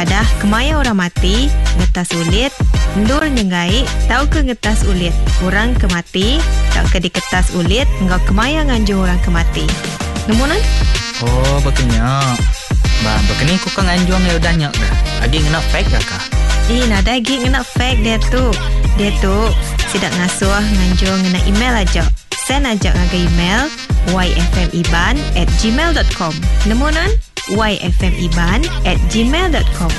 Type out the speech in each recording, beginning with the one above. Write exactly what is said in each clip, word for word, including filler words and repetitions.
Padah kemaya orang mati, ngetas ulit, endur nyenggai, tauka ngetas ulit. Orang ke mati, tauka diketas ulit, enggau kemaya nganjung orang ke mati. Nemu nan? Oh, bekenya. Ba, bekeni ku ka nganjung ya udah nyak dah. Agi ngena fax dah kah? Eh, nadai agi ngena fax dia tu. Dia tu sidak ngasuh nganjung ngena email aja. Send aja ngagai email y f m iban at gmail dot com. Nemu nan? y f m iban at gmail dot com.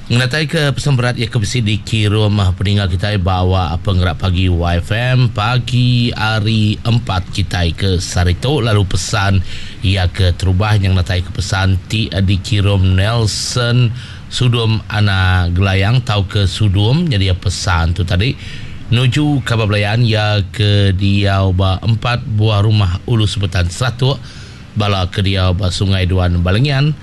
Ngenatai ke pesan berat ia ke besi dikirim peninggal kita bawa penggerak pagi Y F M pagi hari empat kita ke Sarito, lalu pesan ia ke terubah yang natai ke pesan ti dikirim Nelson Sudum Ana Gelayang tau ke Sudum, jadi pesan tu tadi nuju kabar belayan ia ke diau ba empat buah rumah Ulu Sebetan Seratuk, bala ke diau ba Sungai Duan Balengian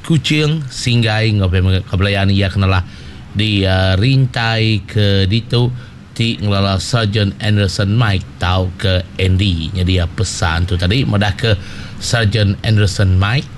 Kuching Singgai ngau kebelayan ia kenalah di uh, rintai ke ditu ti ngelala Sergeant Anderson Mike tau ke Andy. Jadi uh, pesan tu tadi madah ke Sergeant Anderson Mike,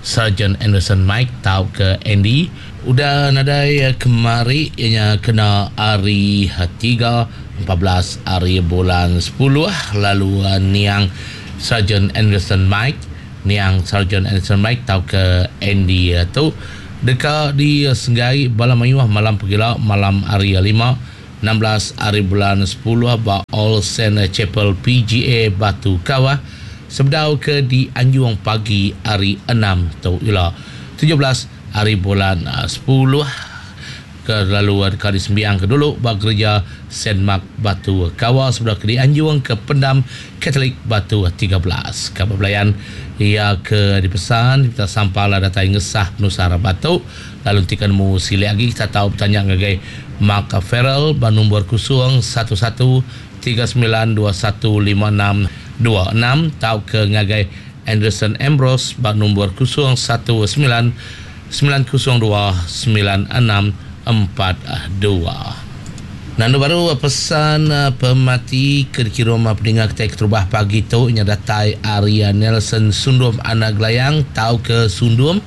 Sergeant Anderson Mike tau ke Andy udah nadai uh, kemari ianya kena hari tiga empat belas hari bulan sepuluh, lalu uh, niang Sergeant Anderson Mike niang Sergeant Anderson Mike tau ke Andy tu deka di Senggai bala mayuh malam pegila malam hari lima enam belas hari bulan sepuluh ba All Saint Chapel P G A Batu Kawah sebedau ke di Anjung pagi hari enam tu ila tujuh belas hari bulan sepuluh ke lalu deka disembiang ke dulu ba gereja Saint Mark Batu Kawah sebedau ke di Anjung ke Pendam Katolik Batu tiga belas. Kabar belayan ia ke dipesan kita sampala datai ngesah penusah Batu, lalu nanti mu silik lagi kita tahu bertanya ngagai Mark Farrell ba nombor kosong satu satu tiga sembilan dua satu lima enam dua enam tau ke ngagai Anderson Ambrose ba nombor kosong satu sembilan sembilan kosong dua sembilan enam empat dua. Nandu baru pesan pemati ke dikirim pendengar kita keterubah pagi tu nya datai Arya Nelson Sundum anak Gelayang tau ke Sundum.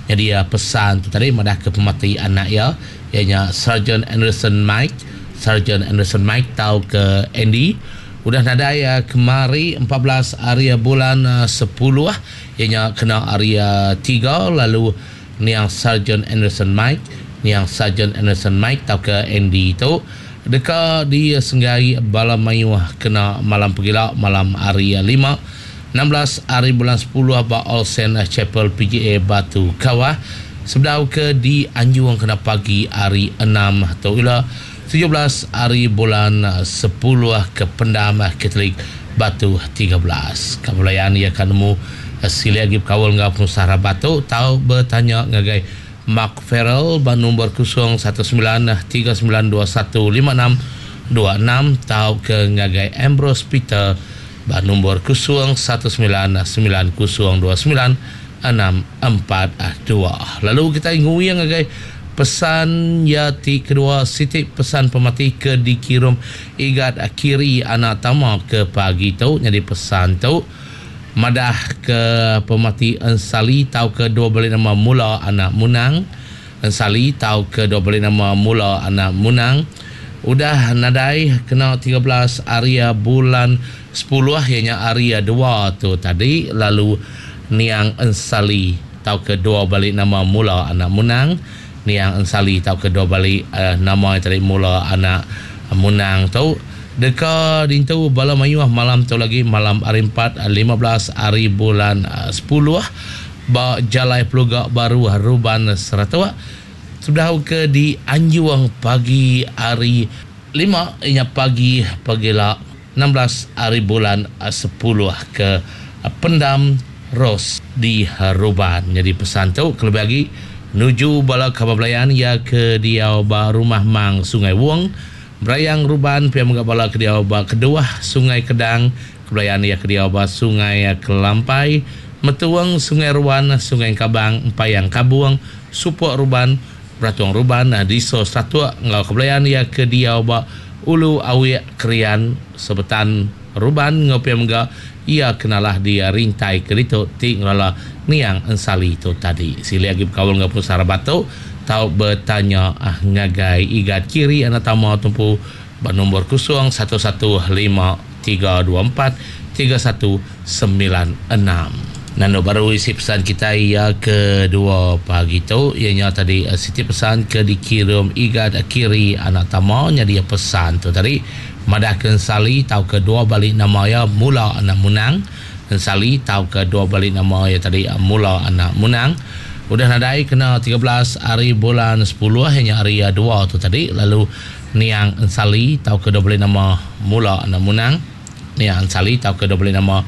Jadi pesan tu tadi madah ke pemati anak ya ianya Sergeant Anderson Mike, Sergeant Anderson Mike tau ke Andy udah nadai kemari empat belas hari bulan sepuluh ianya kena hari tiga, lalu niang Sergeant Anderson Mike, niang Sergeant Anderson Mike tau ke Andy tu deka di Senggai bala mayuh kena malam pegila malam hari lima enam belas hari bulan sepuluh ba All Saint Chapel P G A Batu Kawah sebedau ke di Anjung kena pagi hari enam tu ila tujuh belas hari bulan sepuluh ke Pendam Katolik Batu tiga belas. Kabulayan ia akan nemu sila lagi berkawal dengan pengusaha Batu tau bertanya ngagai Mark Farrell ba nombor kosong satu sembilan tiga sembilan dua satu lima enam dua enam tau ke ngagai Ambrose Peter ba nombor kosong satu sembilan sembilan kosong dua sembilan enam empat dua. Lalu kita nguyang ngagai pesan ya ti kedua sitik pesan pemati ke dikirim igat kiri anak tama ke pagi tu. Jadi pesan tu madah ke pemati Ensali tau ke dua balik nama mula anak Munang, Ensali tau ke dua balik nama mula anak Munang udah nadai kena tiga belas area bulan sepuluh ianya area dua tu tadi, lalu niang Ensali tau ke dua balik nama mula anak Munang, niang Ensali tau ke dua balik uh, nama tadi mula anak Munang tu deka dintu bala mayuh malam tu lagi malam hari empat lima belas hari bulan sepuluh ba Jalai Peluga Baru Ruban Seratuk sudah ke di Anjuang pagi hari lima inya pagi pagila enam belas hari bulan sepuluh ke Pendam Ros di Ruban. Jadi pesan tu kelebih lagi nuju bala kabar belayan ya ke diau ba rumah Mang Sungai Wong Berayang Ruban pia menggak bala ke diau ba kedua Sungai Kedang kebelayan ya ke diau ba Sungai Kelampai Metuang Sungai Ruan Sungai Kabang Empayang Kabuang Supok Ruban Beratuang Ruban Diso Seratuk ngau kebelayan ya ke diau ba Ulu Awiek Krian Sebetan Ruban ngopi mega ia kenalah di rintai kerito ti ngelala niang ensali tu tadi. Sili lagi berkaul dengan pusara batu tau bertanya ah, ngagai Igat Kiri anak tama tumpu bernombor kosong satu satu lima tiga dua empat tiga satu sembilan enam. Nano baru isi pesan kita ia kedua pagi tu ianya tadi siti pesan ke dikirim Igat Kiri anak tama nya dia pesan tu tadi madah ke ensali tau ke dua balik nama ya mula anak munang. Ensali tau ke dua balik nama ya tadi mula anak munang. Udah nadai kena tiga belas hari bulan sepuluh hanya hari dua tu tadi lalu niang ensali tau ke dua balik nama mula anak munang. Niang ensali tau ke dua balik nama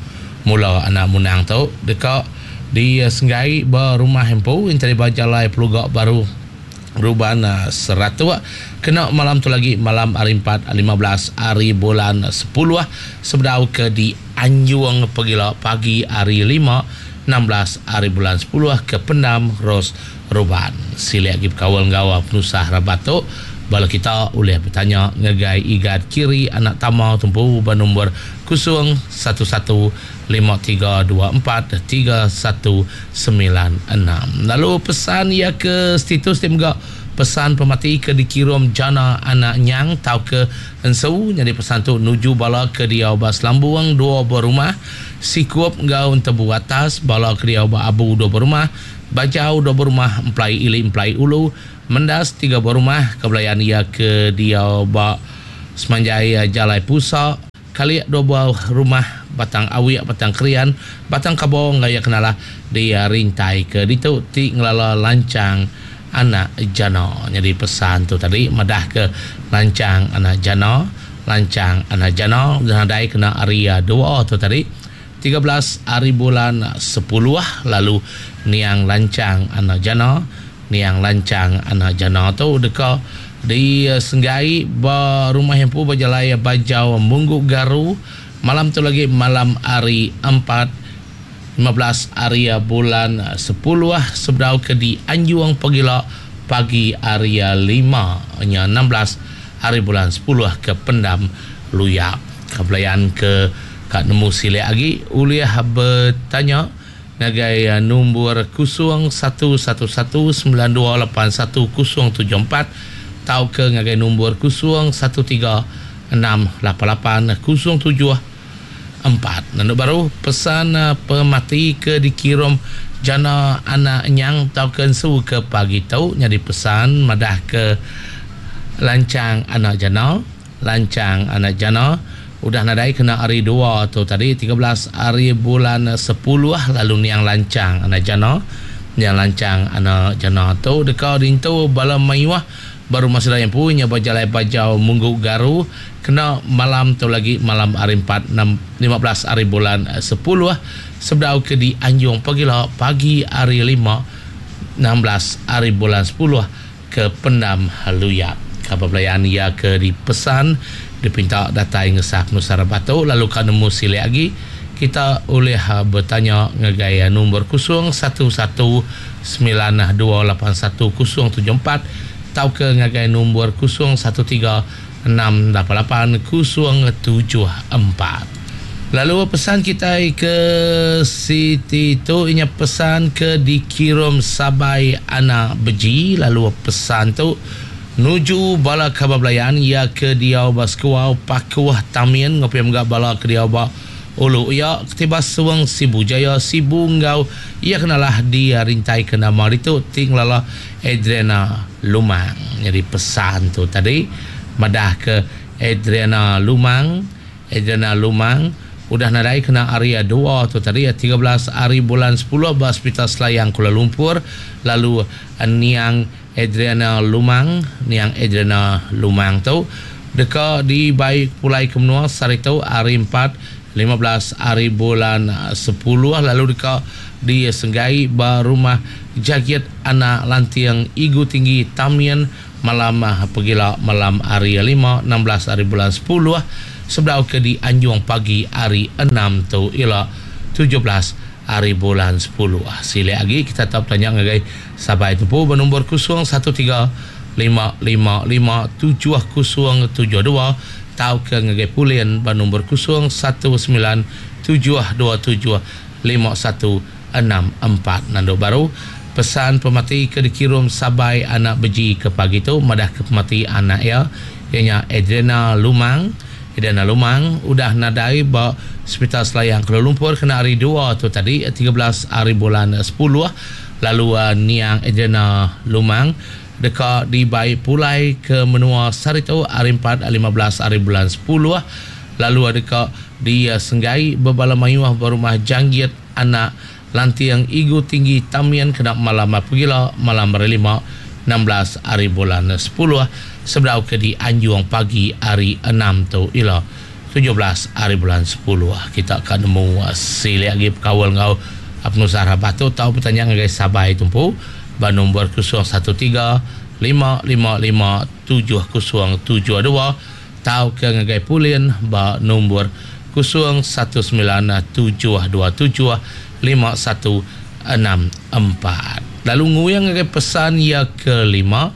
mula anak munang tu dekat di Senggai berumah hempu yang tadi bajalai pelugak baru Ruban seratus kena malam tu lagi malam hari empat lima belas hari bulan sepuluh sebedau ke di Anjuang Pegila pagi hari lima enam belas hari bulan sepuluh ke Pendam Ros Ruban. Sili lagi berkawal ngawa penusah rabat tu bala kita boleh bertanya ngagai Igat Kiri anak tama tumpu bernombor kosong satu satu lima tiga dua empat tiga satu sembilan enam. Lalu pesan ia ke status dia juga pesan pemati ke dikirim jana anak nyang tau ke ensu jadi pesan tu nuju bala ke dia bas lambuang dua berumah sikup ngau tebu atas bala ke dia ba abu dua berumah bajau dua berumah emplai ili emplai ulu mendas tiga berumah kebelayan ia ke dia ba semanjai jalai pusa kali dua buah rumah batang awiak batang krian batang kabong gaya kenalah dia rintai ke ditu ti ngelala lancang anak jana. Jadi pesan tu tadi madah ke lancang anak jana lancang anak jana nadai kena area dua tu tadi tiga belas hari bulan sepuluh lalu niang lancang anak jana niang lancang anak jana tu deka di Senggai ba rumah hempu berjalai bajau Munggu Garu malam tu lagi malam hari empat lima belas hari bulan sepuluh sebedau ke di Anjuang Pegila pagi hari lima nya enam belas hari bulan sepuluh ke Pendam Luyak. Kebelayan ke kat nemu silik lagi uliah bertanya ngagai nombor kosong satu satu satu sembilan dua lapan satu kosong tujuh empat tau ke ngagai nombor kosong satu tiga enam lapan lapan kosong tujuh empat. Nanduk baru pesan pemati ke dikirim jana anak nyang tau ke ensu ke pagi tau nyadi pesan madah ke lancang anak jana lancang anak jana udah nadai kena hari dua tu tadi tiga belas hari bulan sepuluh lalu niang lancang anak jana niang lancang anak jana tu dekat dintu bala mayuah baru masa yang punya berjalai bajau Munggu Garu kena malam tu lagi malam hari empat enam lima belas hari bulan sepuluh sebedau ke di Anjung Pegila pagi hari lima enam belas hari bulan sepuluh ke Pendam Luyak. Kabar belayan ia ke dipesan dipinta datai ngesah Nusara Batu lalu kan nemu silik lagi kita boleh bertanya ngagai nombor kosong satu satu sembilan dua lapan satu kosong tujuh empat tau ke ngagai nombor kosong satu tiga enam lapan lapan kosong tujuh empat. Lalu pesan kita ke Siti tu inya pesan ke dikirim Sabai anak beji lalu pesan tu nuju bala khabar belayan ia ke diau baskuau pakuah tamin ngopi mga bala ke diau ba ulu ia ketibas suang Sibu Jaya Sibu ngau ia kenalah dia rintai ke nama itu tinglala Adriana Lumang. Jadi pesan tu tadi madah ke Adriana Lumang Adriana Lumang udah nadai kena area dua tu tadi tiga belas hari bulan sepuluh ba Hospital Selayang Kuala Lumpur lalu niang Adriana Lumang niang Adriana Lumang tu deka dibaik pulai ke menua sehari tu hari empat lima belas hari bulan sepuluh lalu deka di Senggai ba rumah Jagit anak Lantiang Igu Tinggi Tamian malam pegila malam hari lima enam belas hari bulan sepuluh sebelum ke di Anjung pagi hari enam tu ila tujuh belas hari bulan sepuluh. Sila lagi kita tak tanya ngagai sabai tu bernombor kosong satu tiga lima lima lima tujuh kosong tujuh dua tau ke ngagai Pulin ba nombor kosong satu sembilan tujuh dua tujuh lima satu enam empat. Nando baru pesan pemati ke dikirim sabai anak beji ke pagi tu madah ke pemati anak ya ianya Adriana Lumang. Adriana Lumang udah nadai ba Hospital Selayang Kuala Lumpur kena hari dua tu tadi tiga belas hari bulan sepuluh. Lalu uh, niang Adriana Lumang deka dibai pulai ke menua Sarito hari empat lima belas hari bulan sepuluh. Lalu deka disenggai bebala mayuh berumah Janggit anak Lantiang Igu Tinggi Tamian kena malam pegila malam hari lima enam belas hari bulan sepuluh sebelum ke di Anjung pagi hari enam tu ila tujuh belas hari bulan sepuluh. Kita akan nemu silik lagi kawal ngau penusah batu tau bertanya ngagai sabai tumpu ba nombor kosong satu tiga lima lima lima tujuh kosong tujuh dua tau ke ngagai Pulin ba nombor kosong satu sembilan tujuh dua tujuh lima satu enam empat. Lalu nguyang ngagai pesan yang kelima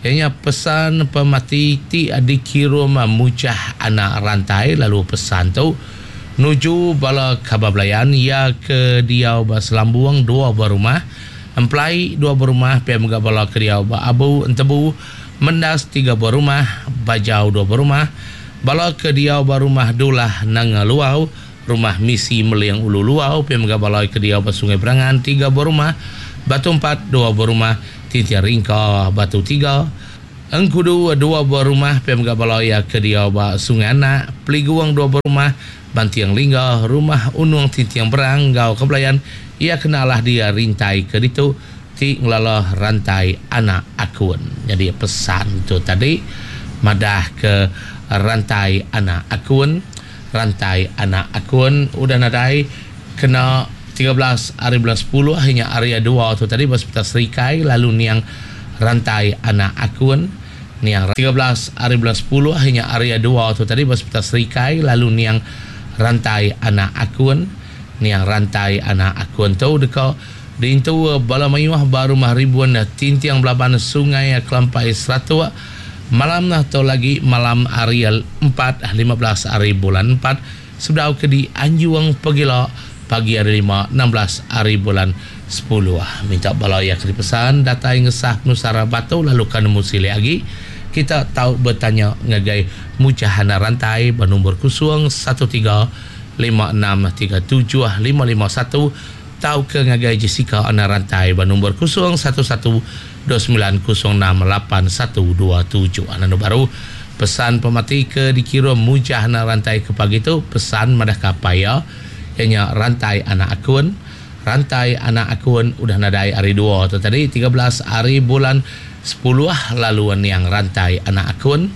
ianya pesan pemati ti dikirim mujah anak rantai. Lalu pesan tu nuju bala khabar belayan ya ke diau ba Selambung dua berumah emplai dua berumah pia mega bala ke diau ba Abu Entebu Mendas tiga berumah Bajau dua berumah bala ke diau ba rumah Dulah Nanga Luau rumah Misi Meling Ulu Luau pia mega bala ke diau ba Sungai Berangan tiga berumah Batu empat dua berumah Tintian Ringka Batu tiga Engkudu dua berumah pia mega bala ya ke diau ba Sungai Anak Peliguang dua berumah Bantiang Lingga rumah Unung Tintiang Berang gau kebelayan ia kenalah dia rintai ke ditu ti ngelalah rantai anak akun. Jadi pesan tu tadi madah ke rantai anak akun, rantai anak akun udah nadai kena tiga belas hari bulan sepuluh hanya area dua tu tadi Hospital Serikai. Lalu niang rantai anak akun niang tiga belas hari bulan sepuluh hanya area dua tu tadi Hospital Serikai. Lalu niang rantai anak akun niang rantai anak akun tu deka diintu bala mayuh ba rumah ribuan Tintiang Belaban Sungai Kelampai Seratuk malam lah atau lagi malam hari empat lima belas hari bulan empat sebelum ke di Anjuang Pegila pagi hari lima enam belas hari bulan sepuluh. Minta bala yang dipesan datai ngesah Nusara Batu lalu kan nemu silih lagi kita tahu bertanya ngagai mujahana rantai bernombor kosong satu tiga lima enam tiga tujuh lima lima satu tahu ke ngagai Jessica ana rantai bernombor kosong satu satu dua sembilan kosong enam lapan satu dua tujuh. Ana baru pesan pemati ke dikirim mujahana rantai ke pagi tu pesan madah kapaya ianya rantai anak akun rantai anak akun udah nadai hari dua tu tadi tiga belas hari bulan sepuluh lalu niang rantai anak akun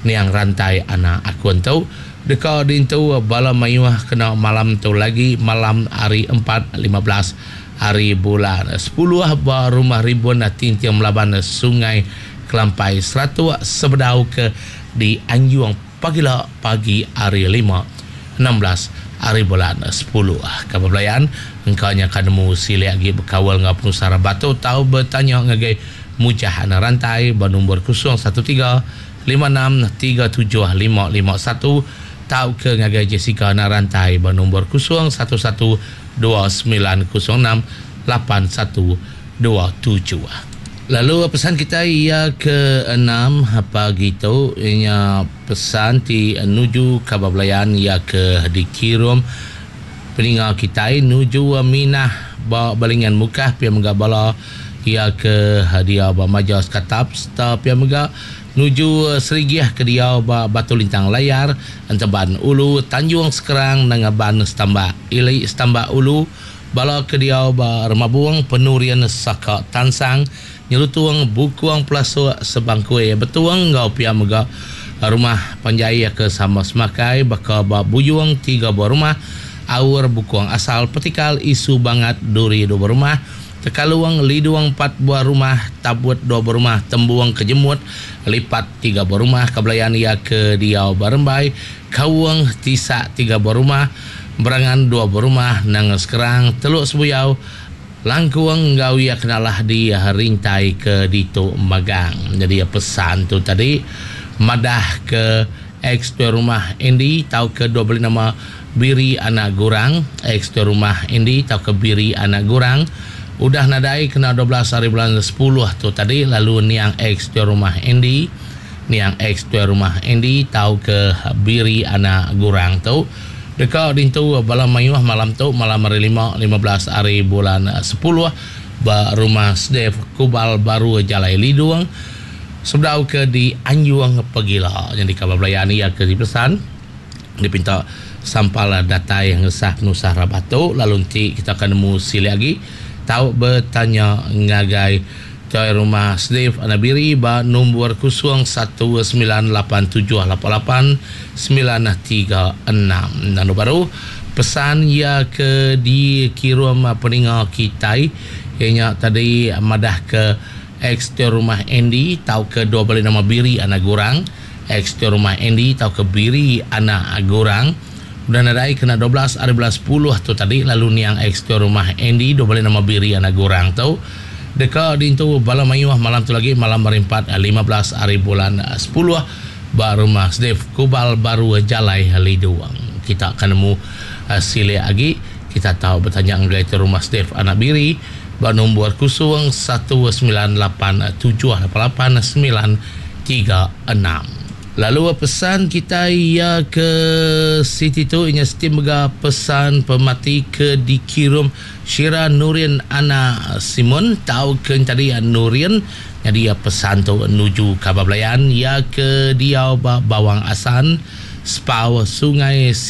niang rantai anak akun tu deka dintu bala mayuh kena malam tu lagi malam hari empat lima belas hari bulan sepuluh ba rumah ribuan Tintiang Melaban Sungai Kelampai Seratuk sebedau ke di Anjuang pagila pagi hari lima enam belas hari bulan sepuluh. Kabar belayan engkaunya akan nemu silik lagi berkawal ngau penusara batu tahu bertanya ngagai mujah anak rantai bernombor kosong satu tiga lima enam tiga tujuh lima lima satu tahu ke ngagai Jessica anak rantai bernombor kosong satu satu dua sembilan kosong enam lapan satu dua tujuh. Lalu pesan kita ia ke enam pagi tu ianya pesan ti nuju kabar belayan ia ke dikirim peninga kita nuju Minah ba Balingan Mukah pia mega bala ia ke hadiah ba Majas Katap serta pia mega nuju Serigiah ke dia ba Batu Lintang Layar Enteban Ulu Tanjung Sekerang Nangaban Setambak Ili Setambak Ulu bala ke dia ba Remabung Penurian Saka Tansang Nyelutuang Bukuang Pelasuk Sebangkui Betuang ngau pia mega rumah panjai ke sama semakai baka ba Buyung tiga buah rumah Aur Bukuang Asal Petikal Isu Bangat Duri dua buah rumah Tekaluang Liduang empat buah rumah Tabut dua buah rumah Tembuang Kejemut Lipat tiga buah rumah Kebelayan ia ke Diau Barembai Kawang Tisak tiga buah rumah Berangan dua buah rumah Nanga Sekerang Teluk Sebuyau Langkuang ngau ia kenalah di rintai ke Dito Magang. Jadi pesan tu tadi madah ke Ex tuai rumah Andy tau ke dua beli nama Biri anak Gurang. Ex tuai rumah Andy tau ke Biri anak Gurang udah nadai kena dua belas hari bulan sepuluh tu tadi. Lalu niang ex tuai rumah Andy, niang ex tuai rumah Andy tau ke Biri anak Gurang tu deka dintu bala mayuh malam tu, malam hari lima, lima belas hari bulan sepuluh ba rumah Sdef Kubal Baru Jalai Lidung sebedau ke di Anjung Pegila. Jadi kabar belayan ia ke dipesan dipinta sampal datai ngesah penusah rabat tu. Lalu nanti kita akan nemu sili lagi tau bertanya ngagai tuai rumah Sdef Anabiri ba nombor kosong satu sembilan lapan tujuh lapan lapan sembilan tiga enam. Dan baru pesan ia ke dikirim peninga kitai ianya tadi madah ke ex tuai rumah Andy tau ke dua balik nama Biri anak Gurang. Ex tuai rumah Andy tau ke Biri anak Gurang udah nadai kena dua belas hari bulan sepuluh tu tadi. Lalu niang ex tuai rumah Andy dua balik nama Biri anak Gurang tu deka dintu bala mayuh malam tu lagi, malam hari empat, lima belas hari bulan sepuluh ba rumah Sdef Kubal Baru Jalai Liduang. Kita akan nemu uh, silik lagi. Kita tahu bertanya ngagai tu rumah Sdef anak Biri ba nombor kosong satu sembilan lapan tujuh lapan lapan sembilan tiga enam. Lalu pesan kita ia ke Siti tu inya Siti mega pesan pemati ke dikirim Syira Nurin anak Simon tau ke tadi Nurin. Jadi ya pesan tu menuju kabar belayan ia ke dia Bawang Asan Spau Sungai